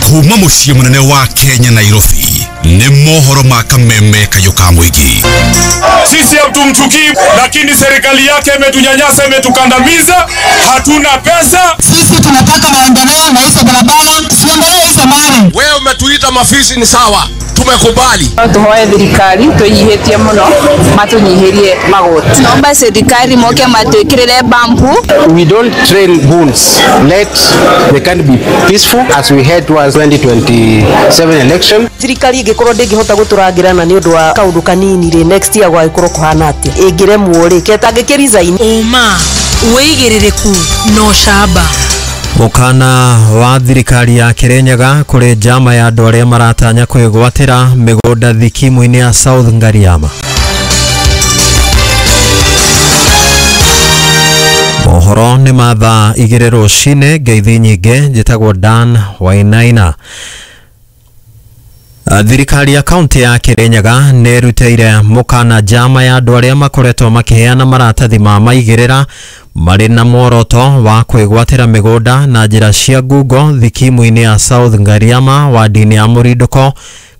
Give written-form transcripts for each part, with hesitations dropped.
Kuma muciĩ munene wa Kenya Nairobi ni mohoro ma kameme kayo ka mwingi. Sisi hatumchukii, lakini serikali yake imetunyanyasa, imetukandamiza, hatuna pesa. Sisi tunataka maendeleo na hizo barabara, siendelee hizo mali. Wewe umetuita mafisi ni sawa, tumekubali. Tuhoe thirikari twinyihĩtie mũno matunyihirie magoti. Naomba serikali moke matwikirire bampu. We don't train goons. Let the country be peaceful as we head towards 2027 election. Thirikari ingĩkorwo ndĩngĩhota gũtũrangĩrana nĩ ũndũ wa kaũndũ kanini rĩ, next year gwagĩkorwo kũhana atĩa? Ĩngĩremwo rĩ, ketangĩkĩ resign. Ũma, wĩigĩrĩrĩku na ũcamba. Mũkana wa thirikari ya Kirinyaga kũrĩ njama ya andũ arĩa maratanya kwĩgwatĩra mĩgũnda thikimu-inĩ ya South Ngariama. Mohoro nĩ ma thaa 2 rũcinĩ. Ngeithi nyingĩ, njĩtagwo Dan Wainaina. Thirikari ya kaunti ya Kirinyaga nĩ ĩrutĩire mũkana njama ya andũ arĩa makoretwo makĩheana maratathi ma maigĩrĩra marĩ na muoroto wa kwĩgwatĩra mĩgũnda na njĩra cia ngungo thikimu-inĩ ya South Ngariama wadi-inĩ ya Mũrindũko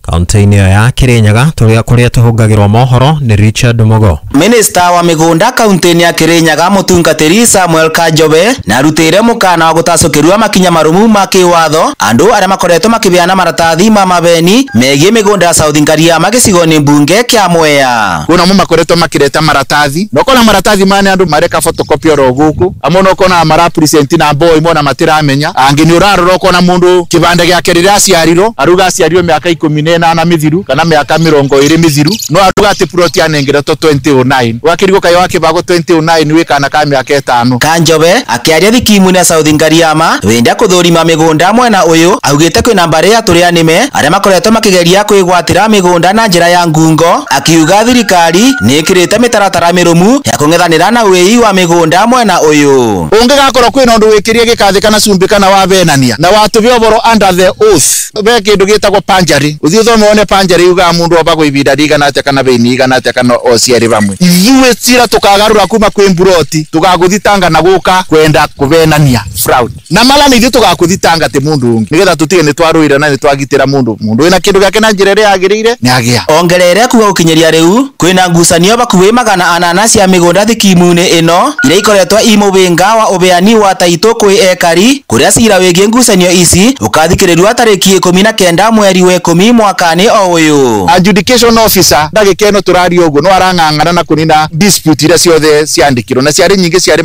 kaunti-inĩ ya Kirinyaga. Kũrĩa tũhungagĩrwo mohoro nĩ Richard Mugo. Minista wa mĩgũnda kaunti-inĩ ya Kirinyaga mũtungatĩri Samuel Kajobe na arutĩire mũkana wa gũtacũkĩrwo makinya marũmu ma kĩwatho andũ arĩa makoretwo makĩbeana maratathi ma mabeni megiĩ mĩgũnda ya South Ngariama gĩcigo-inĩ mbunge kĩa Mwea. Kuna mo makoretwo makĩreta maratathi nokona maratathi mane andũ mareka photocopy oro gũkũ amwe nokona mara present na boy mona matiramenya angĩ nĩ ũrarora ũkona mũndũ kĩbande gĩake rĩrĩa aciarirwo aruga aciarirwo mĩaka 18 mithiru kana miaka 20 mithiru no aruga ati plot anengeretwo 2009 wakirigwo kayo wakibago 2009 wi kana ka miaka 5. Kanjobe akiaria thikimu-inĩ ya South Ngariama wenda kuthurima migunda mwena uyu augite kwina mbari ya turi anime aria makoretwo makigeria kwigwatira migunda na njira ya ngungo, akiuga thirikari ni ikirite mitaratara mirumu ya kung'ethanira na wĩi wa migunda mwena uyu. Ungigakorwo kwina undu wikirie gikathi kana cumbi kana wavenania na watubia uboro under the oath be kindu gitagwo panjari uthii uthome wone panjari yuga mundu obagwo ibinda rigana atia kana beini igana atia kana ociari bamwe. Ithuĩ cira tukagarura kuma kwi mburoti tugaguthitanga na guka kwenda kuvenania fraud na mala ni ithuĩ tugakuthitanga ti mundu ungi nigetha tutige ni twarũire na ni twagitira mundu wina kindu giake na njira iria yagiriire ni agia. Ongerere kuga gukinyiria riu kwina ngucanio bakuhi 800 cia migunda thikimu-inĩ ĩno iria ikoretwo i mũhĩnga wa ũbeani wa taitũ kwĩ ekari kuria cira wĩgiĩ ngucanio ici ũkathikĩrĩrio tarĩki 19 mweri wa 10 mwaka-inĩ o ũyũ. Adjudication officer ndagĩka ĩno tũraria ũguo no arang'ang'ana na kũnina dispute iria ciothe ciandĩkirwo na ciarĩ nyingĩ ciarĩ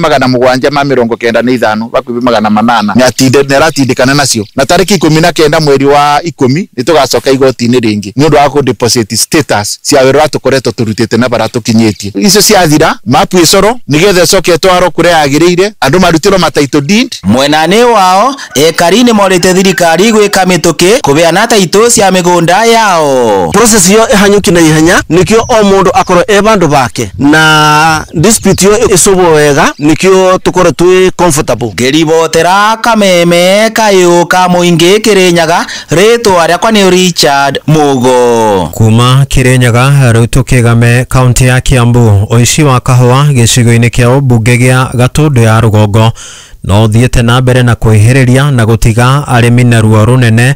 795 bakuhi 800 nĩ aratindĩkana nacio na tarĩki 19 mweri wa 10 nĩ tũgacoka igoti-inĩ rĩngĩ nĩ ũndũ wa kũ deposit status cia wĩra ũrĩa tũkoretwo tũrutĩte na bara tũkinyĩtie icio ciathira mapu ĩcorwo nĩgetha ĩcoke ĩtwarwo kũrĩa yagĩrĩire andũ marutĩrwo ma title deed. Mwena-inĩ wao ekari nĩ morĩte thirikari gwĩka mĩtũkĩ kũbeana taitũ cia mĩgũnda yao. Process iyo ihanyuki na ihenya nikio o mundu akorwo e bandu bake na dispute iyo icubwo wega nikio tukorwo twi comfortable. Ngĩribotera kameme kayũ ka mũingĩ Kirinyaga, rĩtwa rĩakwa nĩ Richard Mugo. Kuma Kirinyaga rĩu tũkĩgame kaunti ya Kiambu. Ũici wa kahũa gĩcigo-inĩ kĩa ũmbunge gĩa Gatũndũ ya rũgongo no ũthiĩte na mbere na kwĩhĩrĩria na gũtiga arĩmi na ruo rũnene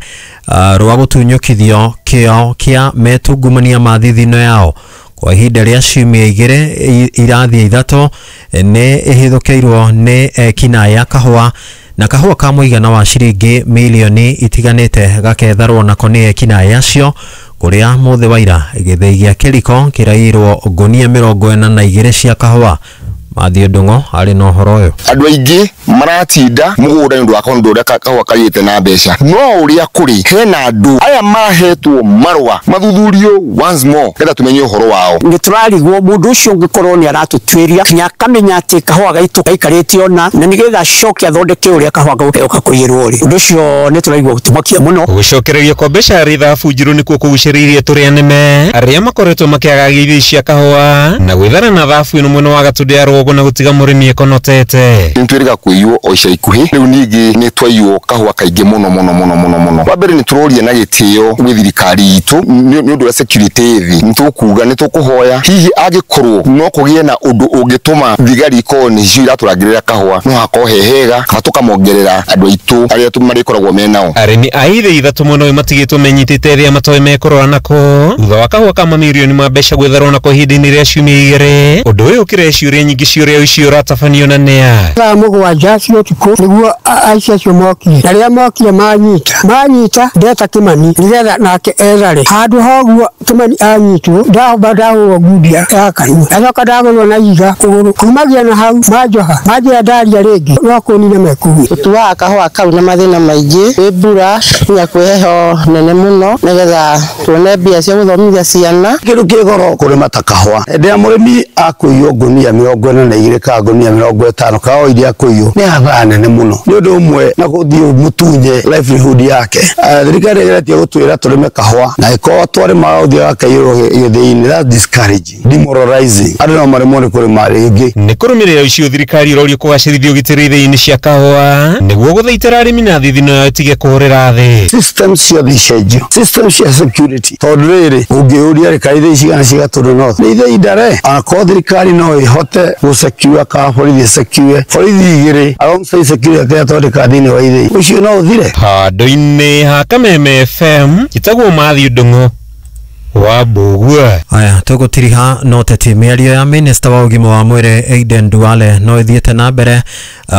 rwa gũtunyũkithio kĩo kĩa metungumania ma thithino yao. Kwa ihinda rĩa ciumia 2 irathiĩ 3 nĩ ĩhithũkĩirwo nĩ ekinaĩ a kahũa na kahũa ka mũigana wa ciringi milioni itiganĩte gaketharwo nako nĩ ekinaĩ acio kũrĩa mũthĩ wa ira gĩthĩi gĩa kĩriko kĩraiyirwo ngũnia 42 cia kahũa. Mathiũ Ndung'o arĩ na ũhoro ũyũ. Andũ aingĩ maratinda mũgũnda nĩ ũndũ wa kaũndũ ũrĩa kahũa kaiyĩte na mbeca no ũrĩa kũrĩ hena andũ aya mahetwo marũa mathuthurio once more getha tumenye ũhoro wao. Nĩ tũrarigwo mũndũ ũcio ũngĩkorwo nĩ aratũtuĩria nginya akamenya atĩ kahũa gaitũ gaikarĩte ona na nĩgetha acoke athondeke ũrĩa kahũa gauka kũiyĩrwo rĩ, ũndũ ũcio nĩ tũraigua gũtũmakia mũno. Gũcokererio kwa mbeca rithabu njirũ nĩkuo kũgucĩrĩirie tũrĩa nĩme arĩa makoretwo makĩagagia ithĩi cia kahũa na gwĩthara na thabu ĩno mwena wa Gatũndũ ya rũgongo. rũgongo na gũtiga mũrĩmi ekonotete. Nĩtwĩrĩga kũiywo o ica ikuhĩ rĩu ningĩ nĩtwaiywo kahũa kaingĩ mũno mũno mũno mũno mũno. Wa mbere nĩtũroria na gĩtĩo gwĩ thirikari itũ nĩ ũndũ wa security ĩthĩ, nĩtũkuga nĩtũkũhoya hihi angĩkorwo no kũgĩe na ũndũ ũngĩtũma thigari ikorwo nĩcio iratũrangĩrĩra kahũa no hakorwo he hega kana tũkamongerera andũ aitũ arĩa marĩkoragwo menao. Arĩmi a ithĩi ithatũ mwena ũyũ matigĩtwo menyitĩte ĩrĩa matoĩ mekũrora nako thutha wa kahũa ka mamirioni ma mbeca gwĩtharwo nako ihinda-inĩ rĩa ciumia igĩrĩ. Ũndũ ũyũ ũkĩrehe ciũria nyingĩ cia ũrĩa ũici ũratabanio na nĩa. Thaa 7 cia ũtukũ nĩguo aici acio mokire, na rĩrĩa mokire manyita ndeta Kĩmani nĩgetha nake ethare. Handũ ha ũguo Kĩmani anyitwo ndahomba ndahũrwo ngundi ya kanua, acoka ndagũrwo na ihiga kũgũrũ. Kumagia na hau manjoha manjĩra ndaria rĩngĩ no kũnina mekuo. Tũtuaga kahũa kau na mathĩna maingĩ, kwĩ mbura nginya kwĩ heho nene mũno nĩgetha tuone mbia cia gũthomithia ciana. Kĩndũ kĩ goro kũrĩma ta kahũa, hĩndĩ ĩrĩa mũrĩmi akũiywo ngũnia 42 kana ngũnia 50 kana o iria akũiywo nĩ hathara nene mũno. Nĩ ũndũ ũmwe na gũthiĩ mũtunye livelihood yake. Thirikari ĩgeretie gũtwĩra tũrĩme kahũa na ĩkorwo twarĩma ũthiaga kaiyũrwo gĩthĩi-inĩ, that's discouraging, demoralizing. Andũ no maremwo nĩ kũrĩma rĩngĩ. Nĩ kũrũmĩrĩra ũici thirikari ĩrorio kũgacĩrithia ũgitĩri ithĩi-inĩ cia kahũa nĩguo gũthaitĩra arĩmi na thithino yao ĩtige kũhũrĩra thĩ. System ciothe icenjio, system cia security, tondũ rĩrĩ ũngĩũria rĩ kaĩ ithĩi cigana cia Gatũndũ North nĩ ithĩi ndare, onakorwo thirikari no ĩhote gũsecure kana borithi ĩsecure borithi igĩrĩ alongside security ĩrĩa twandĩkaga thĩinĩ wa ithĩi, ũcio no ũthire. Handũ-inĩ ha Kameme FM njĩtagwo Matthew Ndung'u wa Mbũgua. Aya tũgũtiriha no teti mĩario ya minista wa ũgima wa mwĩrĩ Aden Duale no ĩthiĩte na mbere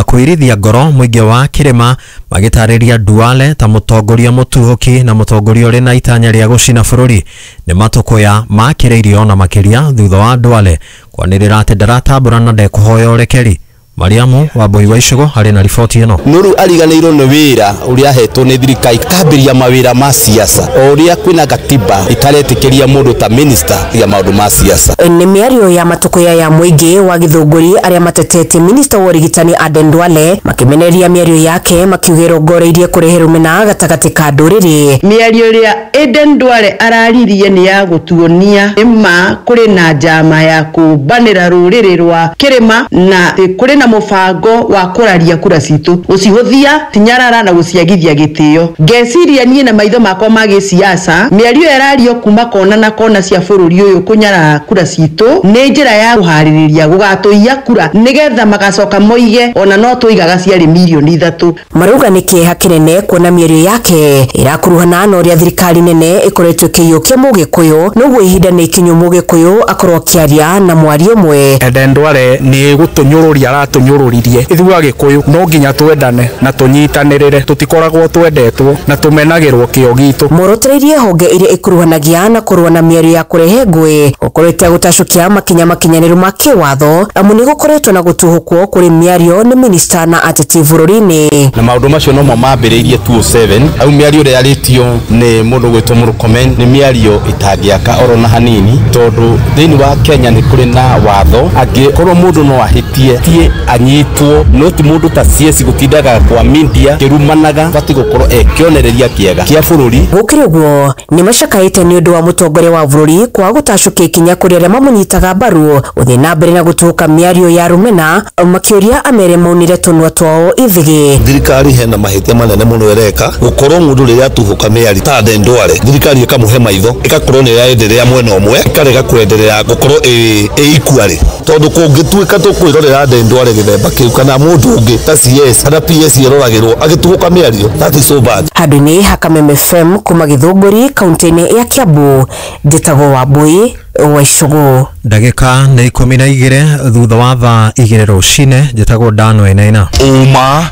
kũirithia ngoro mũingĩ wa kĩrĩma magĩtarĩria Duale ta mũtongoria mũtuhũki na mũtongoria ũrĩ na itanya rĩa gũcina bũrũri. Nĩ matũkũya makĩrĩirio na makĩria thutha wa Duale kwanĩrĩra atĩ ndaratambũra na ndekũhoya ũrekeri. Mariamu Wambui wa Icũgũ harĩ na riboti ĩno. Nuru ariganĩirwo nĩ wĩra ũrĩa ahetwo nĩ thirikari kambĩrĩria mawĩra ma siasa o ũrĩa kwĩna gatiba itaretĩkĩria mũndũ ta minister ya maũndũ ma siasa. Nĩ mĩario ya matũkũya ya mũingĩ wa Gĩthũngũri arĩa matetetie minista wa ũrigitani Aden Duale makĩmenereria mĩario yake makiuga ĩrongoreirie kũrehe rũmena gatagatĩ ka ndũrĩrĩ. Mĩario ĩrĩa Aden Duale araririe nĩ ya gũtuonia nĩma kũrĩ na njama ya kũmbanĩra rũrĩrĩ rwa kĩrĩma na kũrĩ na mũbango wa kũraria kura citũ, gũcihũthia tinyarara na gũciagithia gĩtĩo. Ngeciria niĩ na maitho makwa ma gĩsiasa mĩario ĩrario kuma kona na kona cia bũrũri ũyũ kũnyarara kura citũ nĩ njĩra ya kũharĩrĩria gũgatũiya kura nĩgetha magacoka moige ona no tũigaga ciarĩ mirioni 3. Marauga nĩ kĩeha kĩnene kuona mĩario yake ĩrakuruhana na ũrĩa thirikari nene ĩkoretwo ĩkĩiyũkia Mũgĩkũyũ, noguo ihinda nĩ ikinyu Mũgĩkũyũ akorwo akĩaria na mwario ũmwe. Aden Duale nĩ gũtũnyũrũria aratũnyũrũririe ithuĩ Agĩkũyũ no nginya twendane na tũnyitanĩrĩre, tũtikoragwo twendetwo na tũmenagĩrwo kĩo gitũ. Morotereirie honge iria ikuruhanagia na kũrũa na mĩario ya kũrehe ngũĩ gũkoretwo gũtacũkia makinya makinyanĩru ma kĩwatho amu nĩ gũkoretwo na gũtuhũkwo kũrĩ mĩario nĩ minista na ateti bũrũri-inĩ. Na maũndũ macio nomo mambĩrĩirie 2007 au mĩario ĩrĩa yarĩtio nĩ mũndũ gwĩtwo Murkomen nĩ mĩario ĩtangĩaka oro na hanini, tondũ thĩinĩ wa Kenya nĩ kũrĩ na watho angĩkorwo mũndũ no ahĩtie tie anyitwo, no ti mũndũ ta CS gũtindaga kwa media kĩrumanaga bati gũkorwo e kĩonereria kĩega kĩa bũrũri. Gũkĩrĩ ũguo nĩ macakaĩte nĩ ũndũ wa mũtongoria wa bũrũri kwaga gũtacũkia ikinya kũrĩ arĩa mamũnyitaga mbaru gũthiĩ na mbere na gũtũka mĩario ya rũmena makĩũria amere maunire tũnua twao ithigĩ. Thirikari hena mahĩtia manene mũno ĩreka gũkorwo mũndũ rĩrĩa atuhũka mĩario ta Aden Duale thirikari ĩkamũhe maitho ĩgakorwo nĩ ĩraenderea mwena ũmwe ĩkarega kwenderea gũkorwo ĩ equally, tondũ kũngĩtuĩka tũkwĩrorera Aden Duale gĩthemba kĩu kana mũndũ ũngĩ ta CS kana PS ĩroragĩrwo agĩtuhũka mĩario, that is so bad. Handũ-inĩ ha Kameme FM kuma Gĩthũngũri kaunti-inĩ ya Kiambu, njĩtagwo Wambui wa Icũgũ. Ndagĩka nĩ 12 thutha wa thaa 2 rũcinĩ, njĩtagwo Dan Wainaina. Ũma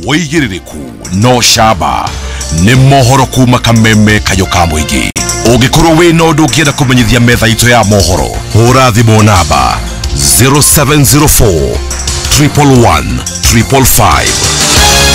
wĩigĩrĩrĩku no camba nĩ mohoro kuma Kameme kayũ ka mũingĩ. Ũngĩkorwo wĩna ũndũ ũngĩenda kũmenyithia metha itũ ya mohoro, hũra thimũ namba 0704 111 555.